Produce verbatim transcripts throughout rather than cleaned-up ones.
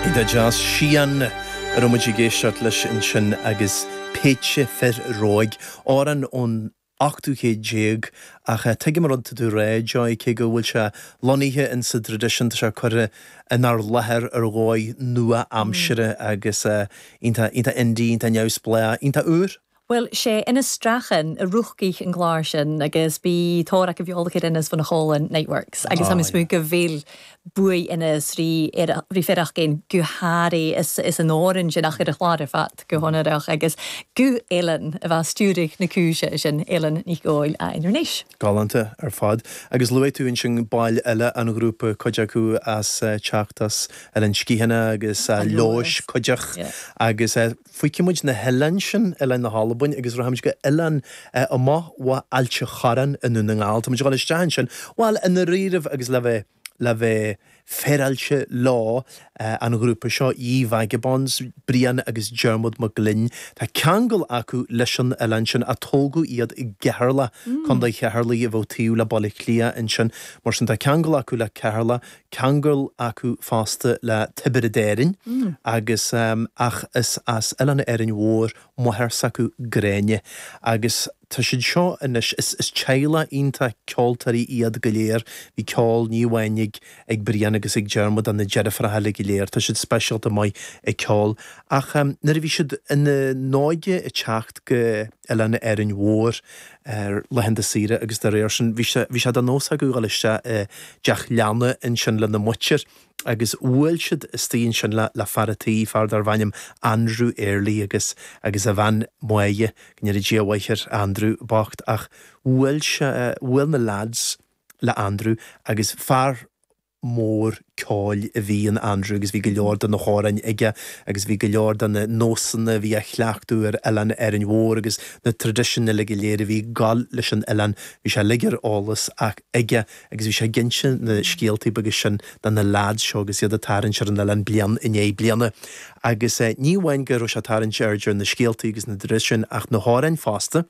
Iontach deas Sian a raibh muid ag éisteacht leis ansin agus Péitse Fir Róig amhrán ón ochtú céad déag ach tuigim an rud atá tú a rá Joy cé go bhfuil sé lonnaithe in sa traidisiún tá sé curtha inár láthair ar dhóigh nua-aimseartha agus iontach iontach indie, iontach neamhspleách, iontach úr. Well sé Innis Strachan a ruchcaí an clár sin agus bí tóra a bheolachar Inis fan cholan Niteworks agus tá smú go bhfuil buí Inis rí rí feach gin go háirí is is an áran sin ach ar a chlár ar fad go honarach agus go Ellen a bheith stiúrigh na cúise sin Ellen Ní Ghóil a Inis. Galánta ar fad. Agus luaigh tú ansin baill eile an ghrúpa cuid acu as teacht as Eilean Sgitheanach agus Leodhais cuideach agus fágfaidh muid na hoileáin sin Oileáin na hAlbain agus rachaimid go oileán amach ó Ailt an Chorráin i nDún na nGall. Tá muid ag dul isteach ansin, bhuel i ndáiríribh agus le bheith le bheith féaráilte leo an ghrúpa seo Ye Vagabonds, Brian agus Dermot Mac Gloinn. Tá ceangal acu leis an oileán sin a tógadh iad i gCeatharlach, Contae Cheatharlaigh a bheadh taobh le Baile Átha Cliath ansin. Mar sin tá ceangal acu le Ceatharlach, ceangal acu fosta le Tiobraid Árann agus ach is as Oileán Árainn Mhór máthair s'acu Gráinne agus tá siad seo anois is is teaghlach iontach ceoltóirí iad go léir, bhí ceol ní amháin ag ag Brian agus ag Dermot ach na deirfiúracha eile go léir, tá siad speisialta maith ag ceol ach nuair a bhí siad ina n-óige ag teacht go Oileán Árainn Mhór ar laethanta saoire agus dá réir sin bhí sé bhí sé de nós acu dhul isteach i dteach leanna ansin lena muintir agus bhuail siad istigh ansin le le fear a' tí, fear darbh ainm Andrew Early agus agus a bhean Máire, go ndéana Dia a mhaith ar Andrew bocht ach bhuail sé bhuail na lads le Andrew agus fear mór ceoil a bhí in Andrew agus bhí go leor de na hamhráin aige agus bhí go leor de na nósanna a bhí á chleachtadh ar Oileán Árainn Mhór agus na traidisiúin uile go léir a bhí ag gabháil leis an oileán, bhí sé uilig ar eolas aige agus bhí sé ag inse na scéaltaí beaga sin do na lads seo agus iad ag tarraingt ar an oileán bliain i ndiaidh bliana. Agus ní amháin go raibh sé ag tarraingt aird ar na scéaltaí agus na traidisiúin ach na hamhráin fosta.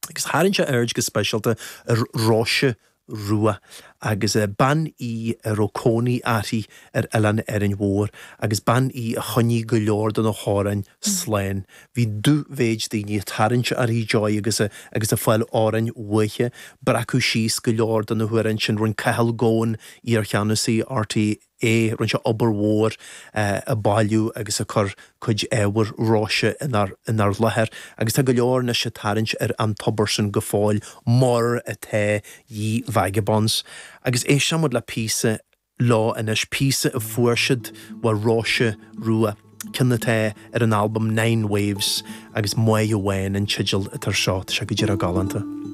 Agus tharraing sé aird go speisialta ar Róise Rua agus bean í a raibh cónaí uirthi ar Oileán Árainn Mhór agus bean í a choinnigh go leor de na hamhráin slán. Bhí dúmhéid daoine ag tarraingt uirthi Joy agus a agus ag fáil amhráin uaithi, breacadh síos go leor de na hamhráin sin, rinne Cathal Goan, iarcheannasaí RTÉ, rinne sé obair mhór ag bailiú agus ag cur cuid ábhair Róise inár inár láthair agus tá go leor anois ag tarraingt ar an tobar sin go fóill mar atá Ye Vagabonds. Agus éistfidh muid le píosa leo anois, píosa a fuair siad ó Róise Rua, ceann atá ar an albam Nine Waves agus Máire Bhán an teideal atá air seo, tá sé go díreach galánta.